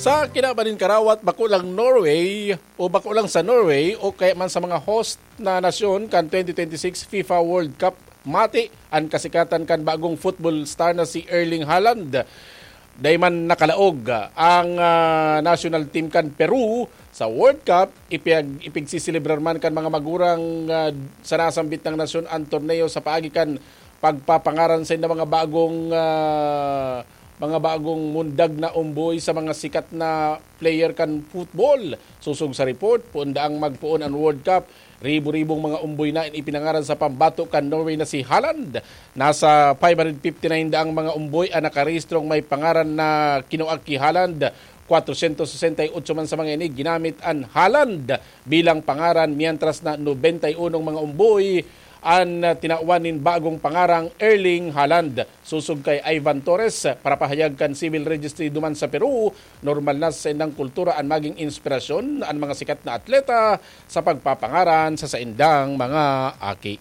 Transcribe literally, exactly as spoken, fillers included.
Sa kinaban nin karawat, bako lang Norway o bako lang sa Norway o kaya man sa mga host na nasyon kan twenty twenty-six FIFA World Cup, mati an kasikatan kan bagong football star na si Erling Haaland. Dai man nakalaog ang ah, national team kan Peru sa World Cup, ipiyag, ipigsiselebrar man kan mga magurang ah, sa nasambit na nasyon ang torneo sa paagi kan pagpapangaran sa mga bagong ah, mga bagong mundag na umboy sa mga sikat na player kan football. Sosog sa report, poon daang magpoon an World Cup, ribo-ribong mga umboy na an ipinangaran sa pambato kan Norway na si Haaland. Nasa five hundred fifty-nine daang mga umboy an nakarehistrong may pangaran na kinua ki Haaland. Kwatrosyentos sesenta y otso man sa mga ini ginamit an Haaland bilang pangaran, mientras na nobenta y unong mga umboy an ah, tinawan nin bagong pangarang Erling Haaland. Sosog kay Ivan Torres, parapahayag kan Civil Registry duman sa Peru, normal na sa saindang kultura an maging inspirasyon an mga sikat na atleta sa pagpapangaran sa saindang mga aki.